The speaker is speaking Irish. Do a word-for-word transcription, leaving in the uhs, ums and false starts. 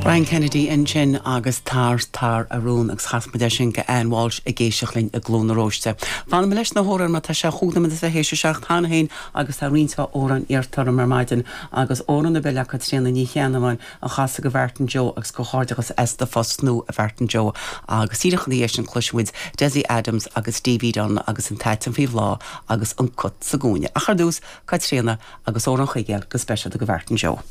Brian Kennedy ansin agus tar tar a rún agus chas muid sin go Ann Walsh ag éisteacht linn i gCluain na Róiste. Fanfaidh mé leis na hamhráin mar tá sé chúig nóiméad tar éis a seacht cheana féin agus tá roinnt amhrán iarrtha orm ar maidin agus amhrán ar bith le Caitríona Ní Cheannabháin a chasadh go Mhartin Joe agus comhghairdeachas as do phost nua a Mhartin Joe agus díreach ina dhiaidh sin cloisfimid Desi Adams agus Stevie Dunn agus an t-aiteann faoi bhláth agus an cat sa gcúinne. Ach ar dtús Caitríona agus amhrán Chuigéil go speisialta go Mhartin Joe.